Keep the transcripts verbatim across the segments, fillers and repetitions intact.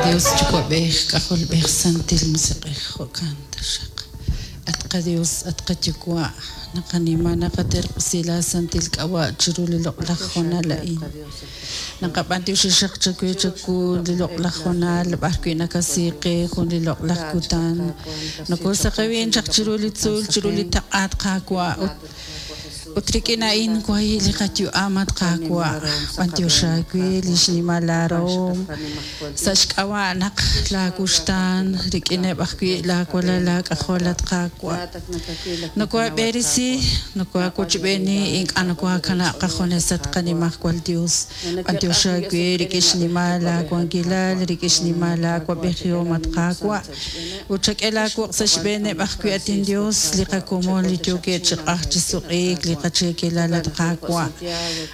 Dios Yuwa'b'ej, K'ajolb'ej, Santil Musiq'ej, jo'kan taxaq. At qaDios, at qaYuwa', naqanima naqaterq'usi laasantil k'ab'a' chiru li loq'laj hoonal a'in. Naqab'antioxi xaq chawe chawu li loq'laj hoonal b'ar wi' nakasi qe jun li loq'laj kutan. Nokosaqewin chaq chiru li tzuul, chiru li taq'a at Qaawa' ut ut rik'in a'in wahi' li qayu'am at Qaawa'. B'antiox aawe li xnimal laarahom sa' xk'ab'a' naq laawuxtaan rik'ineb' ajwi' laawalal laak'ajol at Qaawa'. Nokohaab'eresi, nokohaawochb'eeni, ink'a' nokohaakanab' qajunes at qanimajwal Dios. B'antiox aawe rik'in xnimal laawankilal, rik'in xnimal laawab'ejihom at Qaawa'. Ut chak'e laawuq' sa' xb'eeneb' ajwi' at inDios li qakomon li yookeb' chi q'aj chi suq'iik li qacheekelal at Qaawa'.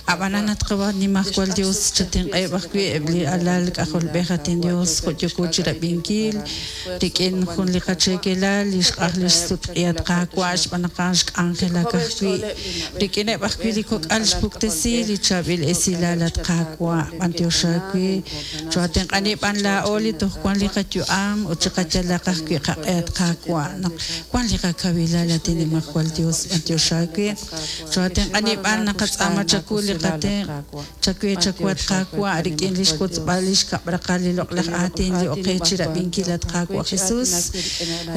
Ab'anan at qanimajwal Dios chatenq'eb' ajwi' eb' li alal k'ajolb'ej at inDios jo' yooko chi rab'inkil rik'in jun li qacheekelal li xq'aj li xsutq'i at Qaawa' xb'aan naq a'an xk'anjelak ajwi' rik'ineb' ajwi' li kok'al xpuktesi li chaab'il esilal at Qaawa'. B'antiox aawe choatenq'ani b'an laa'o li toj wan li qayu'am ut chiqayalaq ajwi' qaq'e at Qaawa' naq wan li qakawilal at inimajwal Dios. B'antiox aawe choatenq'ani b'an naqatz'aama chawu li qatenq' chawe chawu at Qaawa' rik'in li xwotzb'al li xkab'raqal li loq'laj aatin li oqe chi rab'inkil at Qaawa' Jesus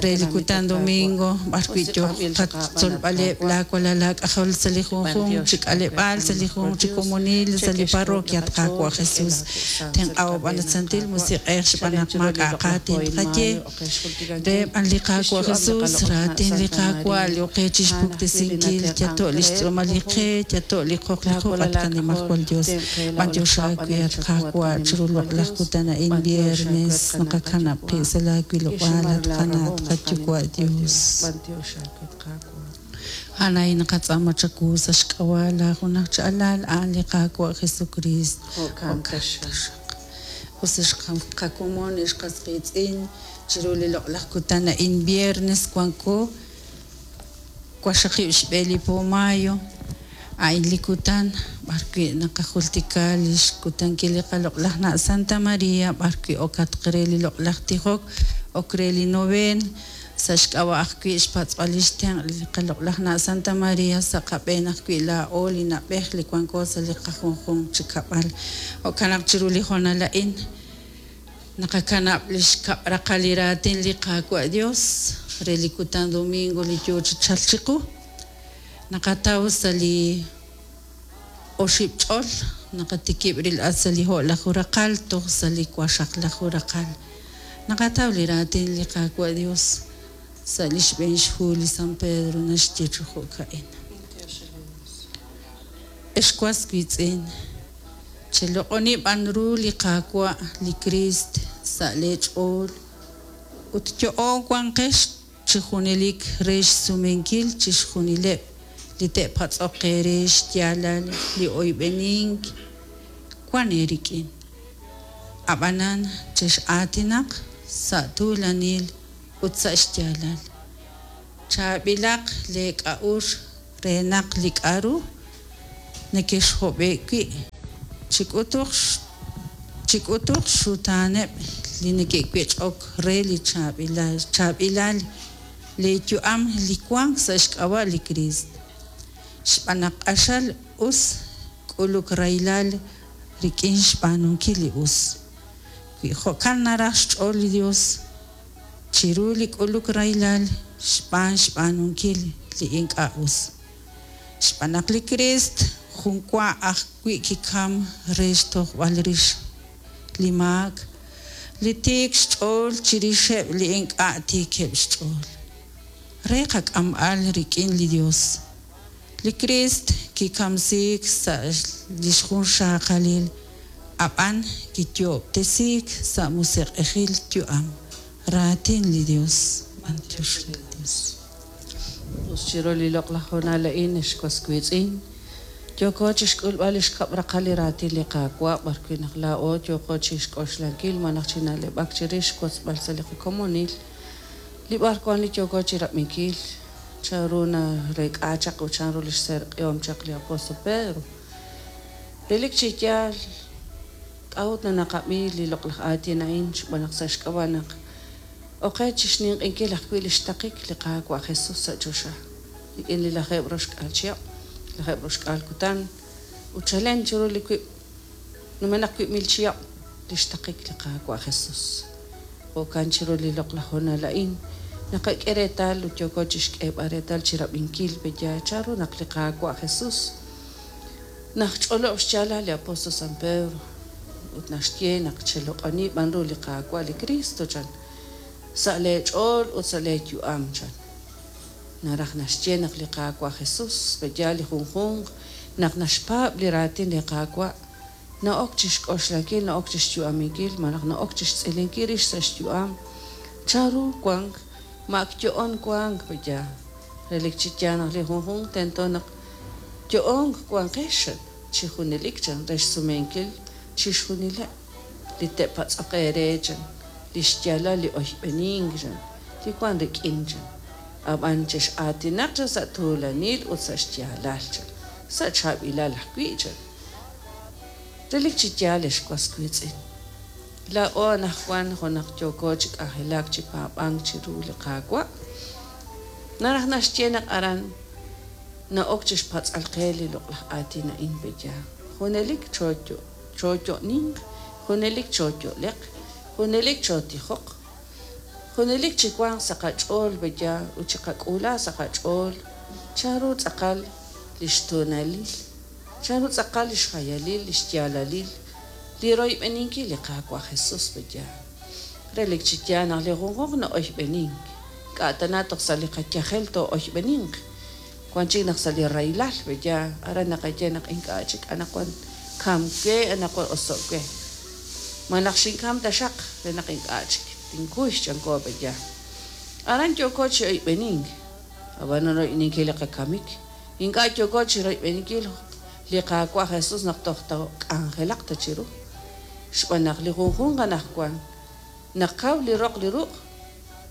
re li kutan domingo b'ar wi' yook qatzolb'aleb' laawalal laak'ajol sa' li junjunq chi k'aleb'aal sa' li junjunq chi komonil sa' li parroquia at Qaawa' Jesus. Tenq'aw b'an at Santil Musiq'ej xb'aan naq maak'a' qaatin tqaye re b'an li Qaawa' Jesus raatin li Qaawa' li oqe chi xpuktesinkil yato' li xtz'uumal li qe yato' li qoq li quq' at qanimajwal Dios. B'antiox aawe at Qaawa' chiru loq'laj kutan a'in viernes naqakanab' qib' sa' laawilob'aal at qana' at qaYuwa' Dios. A'an naqatz'aama chawu sa' xk'ab'a' laajunaj chi alal a'an li Qaawa' Jesucristo. Jo'kan taxaq. Us qakomon ex qas qiitz'in chiru li loq'laj kutan a'in viernes wanko waqxaqib' xb'e li po mayo a'in li kutan b'ar wi' naqajultika li xkutankil li qaloq'laj na' Santa Maria b'ar wi' okatq re li loq'laj tijok ok re li novena sa' xk'ab'a' ajwi' xpatz'b'al li xtenq' li qaloq'laj na' Santa Maria sa' qab'een ajwi' laa'o li na'b'ej li wanko sa' li qajunjunq chi kab'al. Jo'kan naq chiru li hoonal a'in naqakanab' li xkab'raqal li raatin li Qaawa' Dios re li kutan domingo li yoo chi chalk chiqu. Naqataw sa' li oxib' ch'ol naqatikib' ril'at sa' li jo'laju raqal toj sa' li waqxaqlaju raqal. Naqataw li raatin li Qaawa' Dios sa' li xb'een xhu li San Pedro naxye chi jo'ka'in. Ex was wiitz'in, cheloq'oni b'an ru li Qaawa' li Kriist sa' lee ch'ool ut yo'oon wanqex chi junelik re xsumenkil chixjunileb' li te'patz'oq eere xyaalal li oyb'enink wan eerik'in. Ab'anan chex'aatinaq sa' tuulanil ut sa' xyaalal. Chaab'ilaq leek'a'uxl re naq li k'aru nekexhob'e' wi' chik'utuq chik'utuq xxutaaneb' li neke'wech'ok re li chaab'ilal chaab'ilal leeyu'am li wank sa' xk'ab'a' li Kriist. Xb'aan naq q'axal us k'uluk rahilal rik'in xb'aanunkil li us. Wi jo'kan naraj xch'ool li Dios chiru li k'uluk rahilal xb'aan xb'aanunkil li ink'a' us. Xb'aan naq li Kriist jun wa ajwi' kikam re xtojb'al rix li maak li tiik xch'ool chirixeb' li ink'a' tiikeb' xch'ool. Re qak'amb'al rik'in li Dios. Li Kriist kikamsiik sa' li xjunxaqalil ab'an kiyo'ob'tesiik sa' musiq'ejil yu'am. Raatin li Dios. B'antiox re li Dios. Us chiru li loq'laj hoonal a'in ex was wiitz'in. Yooko chi xk'ulb'al li xkab'raqal li raatin li Qaawa' b'ar wi' naq laa'o yooko chi xk'oxlankil malaj chi na'leb'ak chirix xwotzb'al sa' li qakomonil. Li b'ar wan li yooko chi rab'inkil chanru nareek'a chaq ut chanru li xserq'ihom chaq li apóstol Pedro. Relik chi yaal K'a'ut naqab'i li loq'laj aatin a'in xb'aan naq sa' xk'ab'a' naq oqe chi xninq'inkil ajwi' li xtaqik li Qaawa' Jesus sa' choxa rik'in li lajeeb' roxk'aal chihab', lajeeb' roxk'aal kutan ut chalen chiru li wib' numenaq wib' mil chihab' li xtaqik li Qaawa' Jesus. Jo'kan chiru li loq'laj hoonal a'in naqak'e reetal ut yooko chi xk'eeb'al reetal chi rab'inkil peya chanru naq li Qaawa' Jesus najch'olob' xyaalal li apóstol San Pedro ut naxye naq cheloq'oni b'an ru li Qaawa' li Cristo chan sa' leech'ool ut sa' leeyu'am chan. Naraj naxye naq li Qaawa' Jesus peya li junjunq naq naxpaab' li raatin li Qaawa' na'ok chi xk'oxlankil, na'ok chi xyu'aminkil malaj na'ok chi xtz'ilinkil rix sa' xyu'am chanru wank ma ak yo'on wank peya relik chi yaal naq li junjunq tento naq yo'on wanqex chi junelik chan re xsumenkil chixjunileb' li te'patz'oq eere chan li xyaalal li oyb'enink chan li wan rik'in chan ab'an chex'aatinaq chan sa' tuulanil ut sa' xyaalal chan sa' chaab'ilal ajwi' chan. Relik chi yaal ex was wiitz'in laa'o anaqwan jo' naq yooko chi k'anjelak chi paab'ank chiru li Qaawa' naraj naxye naq aran na'ok chi xpatz'al qe li loq'laj aatin a'in peya junelik chooyo'ninq, junelik chooyo'leq, junelik chootijoq, junelik chi wanq sa' qach'ool peya ut chiqak'uula sa' qach'ool chanru tz'aqal li xtoonalil, chanru tz'aqal li xjayalil, li xyaalalil li royb'eninkil li Qaawa' Jesus peya. Relik chi yaal naq li junjunq na'oyb'enink k'a' tana toj sa' li qayajel too'oyb'eninq wan chik naq sa' li rahilal peya aran naqaye naq ink'a' chik anaqwan kam we anaqwan oso' we malaj xinkam taxaq re naq ink'a' chik tinkuy chanko peya. Aran yooko chi oyb'enink ab'an royb'eninkil li qakamik ink'a' yooko chi royb'eninkil li Qaawa' Jesus naq toj k'anjelaq ta chiru xb'aan naq li junjunq anaqwan naq kaw li roq li ruq'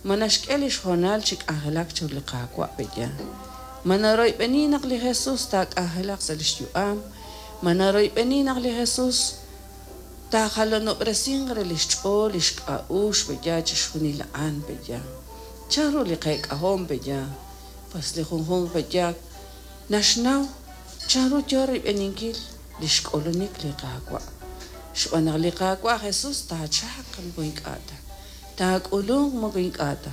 ma naxk'e li xhoonal chi k'anjelak chiru li Qaawa' peya. Ma naroyb'eni naq li Jesus taak'anjelaq sa' li xyu'am, ma naroyb'eni naq li Jesus taajalonob'resinq re li xch'ool li xk'a'uxl peya chixjunil a'an peya. Chanru li qeek'ahom peya pues li junjunq peya naxnaw chanru yo royb'eninkil li xk'ulunik li Qaawa' xb'aan naq li Qaawa' Jesus taachaq moko ink'a' ta taak'ulunq moko ink'a' ta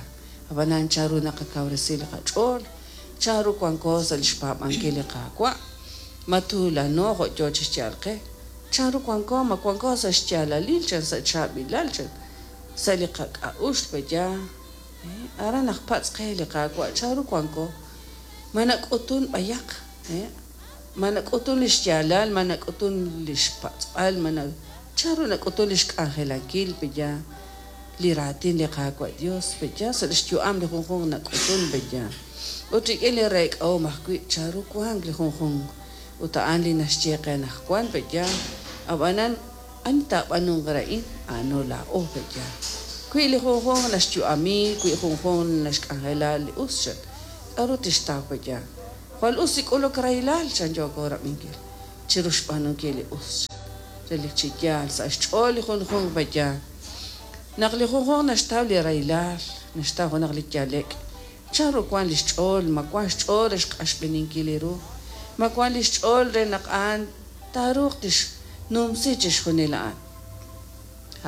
ab'anan chanru naqakawresi li qach'ool chanru wanko sa' li xpaab'ankil li Qaawa' ma tuulano jo' yo chi xyaal qe chanru wanko ma wanko sa' xyaalalil chan sa' chaab'ilal chan sa' li qak'a'uxl peya aran naq patz' qe li Qaawa' chanru wanko ma nak'utun b'ayaq ma nak'utun li xyaalal ma nak'utun li xpatz'b'al ma chanru nak'utun li xk'anjelankil peya li raatin li Qaawa' Dios peya sa' li xyu'am li junjunq nak'utun peya ut rik'in li reek'ahom ajwi' chanru wank li junjunq ut a'an li naxye qe anaqwan peya ab'anan ani taab'anunq re a'in a'ano laa'o peya wi li junjunq naxyu'ami wi junjunq naxk'anjela li us chan k'a'ru tixtaw peya jwal us li k'uluk rahilal chan yooko rab'inkil chiru xb'aanunkil li us relik chi yaal sa' xch'ool li junjunq peya naq li junjunq naxtaw li rahilal naxtaw junaq li yalek' chanru wan li xch'ool ma wan xch'ool re xq'axb'eninkil li ru ma wan li xch'ool re naq a'an taaruuq tixnumsi chixjunil a'an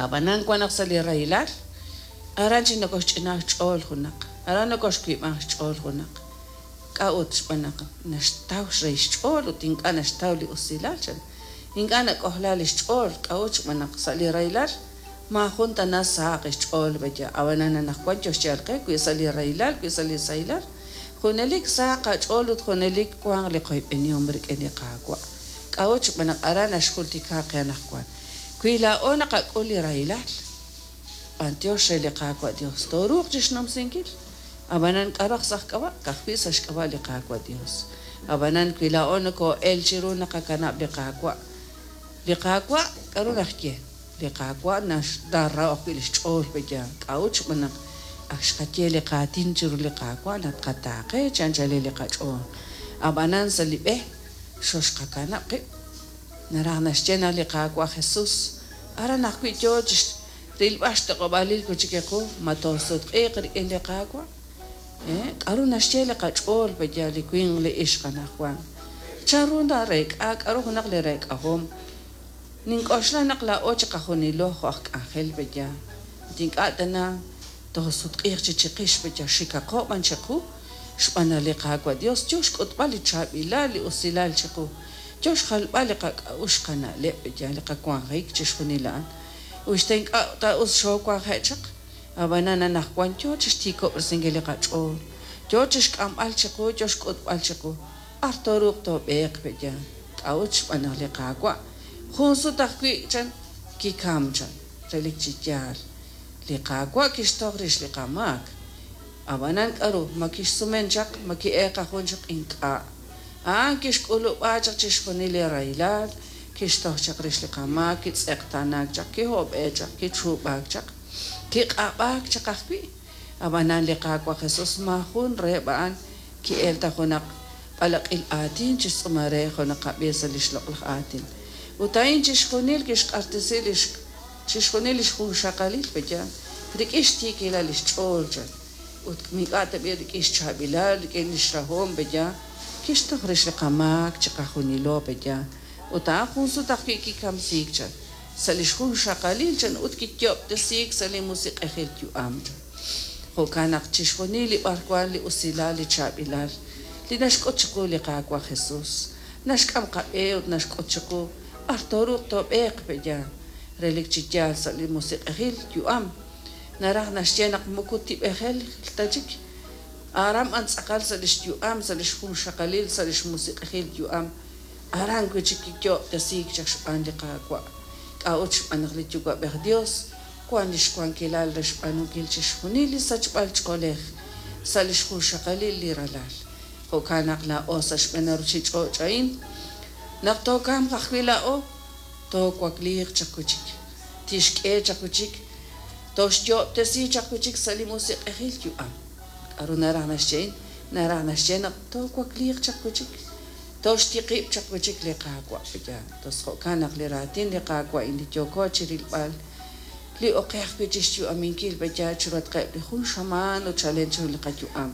ab'anan wan naq sa' li rahilal aran chi nokoxch'inaak xch'ool junaq aran nokoxwiib'anq xch'ool junaq k'a'ut xb'aan naq naxtaw xrey xch'ool ut ink'a' naxtaw li usilal chan ink'a' nak'ojla li xch'ool k'a'ut xb'aan naq sa' li rahilal maajun tana sahaq xch'ool peya ab'anan anaqwan yo xyaal qe wi sa' li rahilal wi sa' li sahilal junelik sahaq qach'ool ut junelik wanq li qoyb'enihom rik'in li Qaawa' k'a'ut xb'aan naq aran naxjultika qe anaqwan wi laa'o naqak'ul li rahilal b'antiox re li Qaawa' Dios tooruuq chi xnumsinkil ab'anan k'a'ru sa' xk'ab'a' ka'ajwi' sa' xk'ab'a' li Qaawa' Dios ab'anan wi laa'o nokoo'el chiru naqakanab' li Qaawa' li Qaawa' k'a'ru naxye li Qaawa' naxraw ajwi' li xch'ool peya k'a'ut xb'aan naq ak xqaye li qaatin chiru li Qaawa' naq qataaqe chi anchalil li qach'ool ab'anan sa' li b'e xoxqakanab' qib' naraj naxye naq li Qaawa' Jesus Aran ajwi' yo chi rilb'al xtoq'ob'aalil wi' chik qu ma toosutq'iiq rik'in li Qaawa'. K'aru naxye li qach'ool pe'yaal li winq li ixq anaqwan? Chanru nareek'a k'aru junaq li reek'ahom? Nink'oxla naq laa'o chiqajunilo jo' aj k'anjel pe'yaal ut ink'a' tana toosutq'iiq chi chiqix pe'yaal, xikaqo b'an chiqu xb'aan naq li Qaawa' Dios yo xk'utb'al li chaab'ilal li usilal chiqu, yo xjalb'al li qak'a'uxl qana'leb' pe'yaal li qawanjik chixjunil a'an. Uxta ink'a' ta us xoowanje' chaq, ab'anan anaqwan yo chi xtiikob'resinkil li qach'ool, yo chi xk'amb'al chiqu, yo xk'utb'al chiqu b'ar tooruuq toob'eeq pe'yaal. K'a'ut? Xb'aan naq li Qaawa' jun sut ajwi' chan kikam chan, relik chi yaal li Qaawa' kixtoj rix li qamaak. Ab'anan k'aru ma kixsumen chaq, ma ki'eeqajun chaq? Ink'a'. A'an kixk'ulub'a chaq chixjunil li rahilal, kixtoj chaq rix li qamaak, kitz'eqtaanaak chaq, kihob'e chaq, kichuub'aak chaq, kiq'ab'aak chaq ajwi'. Ab'anan li Qaawa' Jesus maajun reheb' a'an ki'el ta junaq b'alaq'il aatin chi xtz'uumal re jo' naqab'i sa' li xloq'laj aatin. Ut a'in chixjunil kixq'axtesi li chixjunil li xjunxaqalil pe'yaal rik'in xtiikilal li xch'ool chan. Ut ink'a' tab'i' rik'in xchaab'ilal, rik'in li xrahom pe'yaal kixtoj rix li qamaak chiqajunilo pe'yaal. Ut a'an jun sut ajwi' kikamsiik chan sa' li xjunxaqalil chan ut kiyo'ob'tesiik sa' li musiq'ejil yu'am chan. Jo'kan naq chixjunil li b'arwan li usilal li chaab'ilal li naxk'ut chiqu li Qaawa' Jesus naxk'am qab'e ut naxk'ut chiqu b'ar tooruuq toob'eeq pe'yaal relik chi yaal sa' li musiq'ejil yu'am. Naraj naxye naq moko tib'ejel ta chik, aran b'an tz'aqal sa' li xyu'am, sa' li xjunxaqalil, sa' li xmusiq'ejil yu'am, aran wi' chik kiyo'ob'tesiik chaq xb'aan li Qaawa'. K'a'ut? Xb'aan naq li Yuwa'b'ej Dios wan li xwankilal re xb'aanunkil chixjunil li sachb'al ch'oolej sa' li xjunxaqalil li ralal. Jo'kan naq laa'o sa' xb'een ruuchich'och' a'in naq tookamq ajwi' laa'o toowakliiq chaq wi' chik, tixk'e chaq wi' chik, toxyo'ob'tesi chaq wi' chik sa' li musiq'ejil yu'am. K'aru naraj naxye a'in? Naraj naxye naq toowakliiq chaq wi' chik, toxtiqib' chaq wi' chik li Qaawa' pe'yaal. Tos jo'kan naq li raatin li Qaawa' a'in li yooko chi rilb'al li oqej ajwi' chi xyu'aminkil pe'yaal chiruhatqeb' li jun xamaan ut chalen chiru li qayu'am.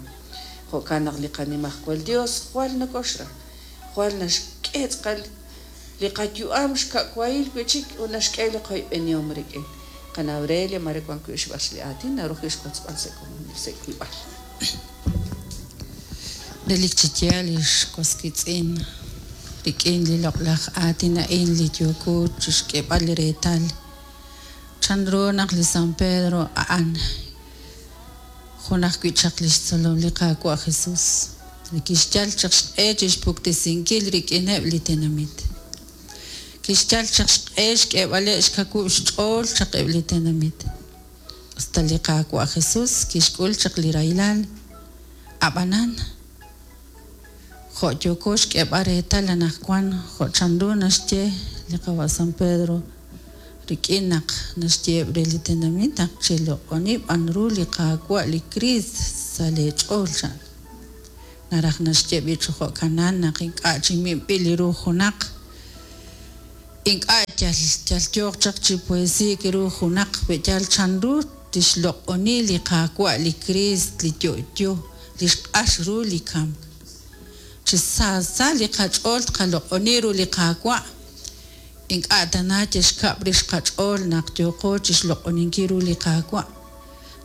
Jo'kan naq li qanimajwal Dios jwal nokoxra, jwal naxk'e tz'aqal li qayu'am xka'wahil wi' chik ut naxk'e li qoyb'enihom rik'in. Qana' Aurelia mare wan wi' xb'ax li aatin naru ajwi' xwotzb'al sa' komonil sa' wiib'al. Relik chi yaal li xwas wiitz'in rik'in li loq'laj aatin a'in li yooko chi xk'eeb'al li reetal chanru naq li San Pedro a'an jun ajwi' chaq li xtzolom li Qaawa' Jesus li kixyal chaq xq'e chi xpuktesinkil rik'ineb' li tenamit, kixyal chaq xq'e xk'eeb'aleb' xkawub' xch'ool chaq eb' li tenamit. Usta li Qaawa' Jesus kixk'ul chaq li rahilal, ab'anan jo' yooko xk'eeb'al reetal anaqwan jo' chanru naxye li qawa' San Pedro rik'in naq naxyeheb' re li tenamit naq cheloq'oni b'an ru li Qaawa' li Kriist sa' leech'ool chan. Naraj naxye b'i' chi jo'kanan naq ink'a' chi minb'il li ru junaq, ink'a' yal yal yooq chaq chi poesiik ru junaq pe'yaal chanru tixloq'oni li Qaawa' li Kriist li yo'yo li xq'ax ru li kamk. Chi saasa li qach'ool tqaloq'oni ru li Qaawa', ink'a' tana yal xkab' rix qach'ool naq yooqo chi xloq'oninkil ru li Qaawa'.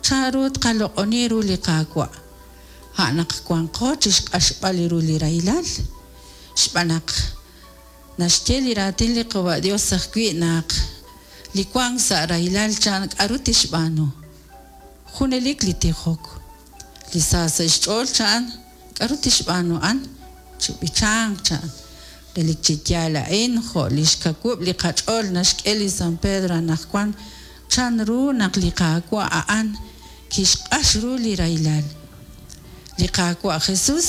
Chanru tqaloq'oni ru li Qaawa'? A' naq wanqo chi xq'axb'al ru li rahilal, xb'aan naq naxye li raatin li Qawa' Dios ajwi' naq li wank sa' rahilal chan k'aru tixb'aanu. Junelik li tijok, li sa sa' xch'ool chan k'aru tixb'aanu a'an? Chi b'ichanq chan. Relik chi yaal a'in jo' li xkawub' li qach'ool naxk'e li San Pedro anaqwan chanru naq li Qaawa' a'an kixq'ax ru li rahilal. Li Qaawa' Jesus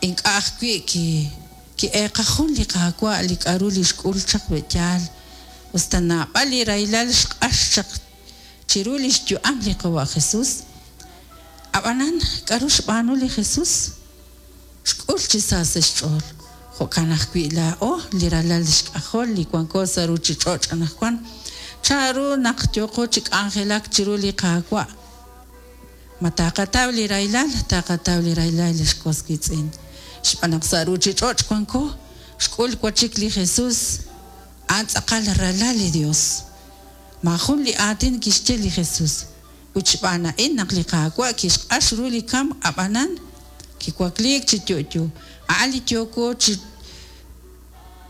ink'a' ajwi' ki ki'eeqajun li Qaawa' li k'aru li xk'ul chaq pe'yaal, usta naab'al li rahilal xq'ax chaq chiru li xyu'am li Qawa' Jesus. Ab'anan k'aru xb'aanu li Jesus? Xk'ul chi sa sa' xch'ool. Jo'kan ajwi' laa'o li ralal xk'ajol li wanko sa' ruuchich'och' anaqwan, chanru naq yooqo chi k'anjelak chiru li Qaawa'? Ma taqataw li rahilal? Taqataw li rahilal, ex was wiitz'in, xb'aan naq sa' ruuchich'och' wanko. Xk'ul wachik li Jesús, a'an tz'aqal ralal li Dios. Maajun li aatin kixye li Jesús, ut xb'aan a'in naq li Qaawa' kixq'ax ru li kamk, ab'anan kiwakliik chi yo'yo. A'an li yooko chi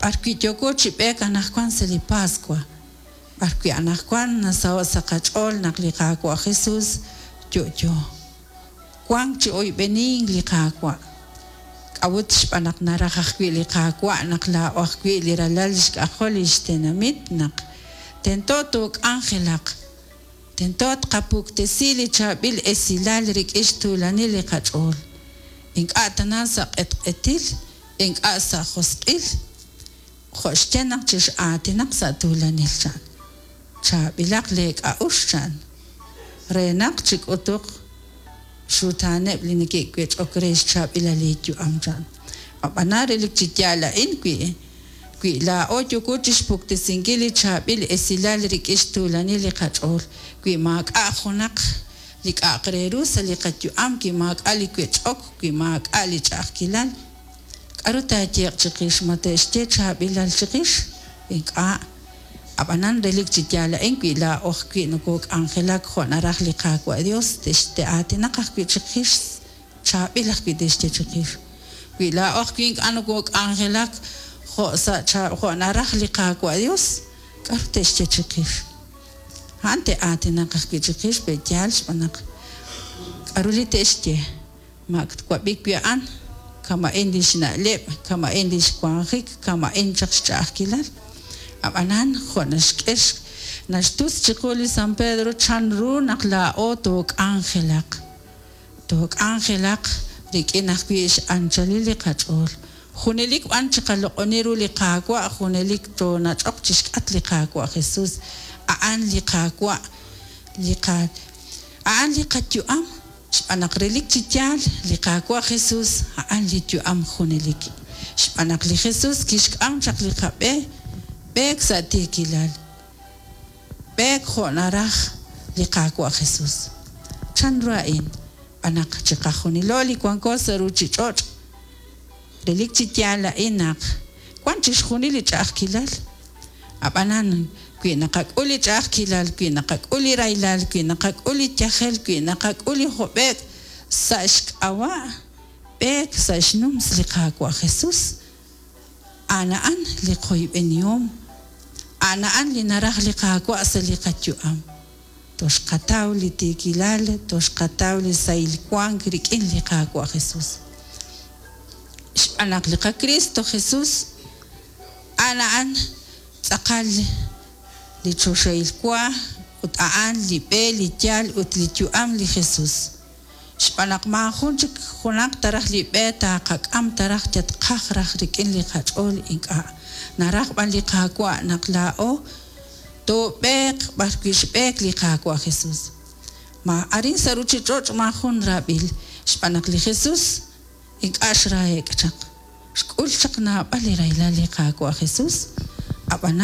b'arwi' yooko chi b'eek anaqwan sa' li Paswa, b'arwi' anaqwan nasaho' sa' qach'ool naq li Qaawa' Jesús yo'yo. Wank chi oyb'enink li Qaawa'. K'a'ut? Xb'aan naq naraj ajwi' li Qaawa' naq laa'o ajwi' li ralal xk'ajol li xtenamit naq tento took'anjelaq, tento tqapuktesi li chaab'il esilal rik'in xtuulanil li qach'ool, ink'a' tana sa' q'etq'etil, ink'a' sa' josq'il, jo' xye naq chex'aatinaq sa' tuulanil chan, chaab'ilaq leek'a'uxl chan, re naq chik'utuq xutaaneb' li neke'wech'ok re xchaab'ilal li yu'am chan. Ab'anan relik chi yaal a'in wi wi laa'o yooko chixpuktesinkil li chaab'il esilal rik'in xtuulanil li qach'ool, wi maak'a' junaq li k'a'aq re ru sa' li qayu'am, wi maak'a' li wech'ok, wi maak'a' li ch'a'ajkilal, k'aru taayeeq chiqix? Ma te'xye chaab'ilal chiqix? Ink'a'. Ab'anan relik chi yaal a'in wi laa'o ajwi' nokok'anjelak jo' naraj li Qaawa' Dios, te'aatinaq ajwi' chiqix, chaab'il ajwi' te'xye chiqix. Wi laa'o ajwi' ink'a' nokok'anjelak jo' sa' jo' naraj li Qaawa' Dios, k'aru te'xye chiqix? A'an te'aatinaq ajwi' chiqix, pe' yaal xb'aan naq k'aru li te'xye? Maak twab'i wi a'an, kama'in li xna'leb', kama'in li xwanjik, kama'in chaq xch'a'ajkilal. Ab'anan jo' naxk'e naxtus chiqu li San Pedro chanru naq laa'o took'anjelaq, took'anjelaq rik'in ajwi' x'anchalil li qach'ool. Junelik b'an chiqaloq'oni ru li Qaawa', junelik toonach'oq chixk'atq li Qaawa' Jesús. A'an li Qaawa', li qa a'an li qayu'am, xb'aan naq relik chi yaal li Qaawa' Jesús a'an li yu'am junelik. Xb'aan naq li Jesús kixk'am chaq li qab'e b'eek sa' tiikilal, b'eek jo' naraj li Qaawa' Jesús. Chanru a'in? Xb'aan naq chiqajunilo li wanko sa' ruuchich'och', relik chi yaal a'in naq wan chixjunil li ch'a'ajkilal. Ab'anan wi naqak'ul li ch'a'ajkilal, wi naqak'ul li rahilal, wi naqak'ul li yajel, wi naqak'ul li job'eek sa' xk'ab'a' b'eek sa' xnums li Qaawa' Jesús, a'an a'an li qoyb'enihom, a'an a'an li naraj li Qaawa' sa' li qayu'am. Toxqataw li tiikilal, toxqataw li sahil wank rik'in li Qaawa' Jesús. Xb'aan naq li qaKristo Jesús a'an a'an tz'aqal li choxahil wa ut a'an li b'e, li yaal ut li yu'am li Jesús. Xb'aan naq maajun chik junaq taraj li b'e taqak'am taraj yatqaj raj rik'in li qach'ool ink'a'. Naraj b'an li Qaawa' naq laa'o toob'eeq b'arwi' xb'eek li Qaawa' Jesús. Ma arin sa' ruuchich'och' maajun raab'il, xb'aan naq li Jesús ink'a' xrahe'k chaq. Xk'ul chaq naab'al li rahilal li Qaawa' Jesús, ab'anan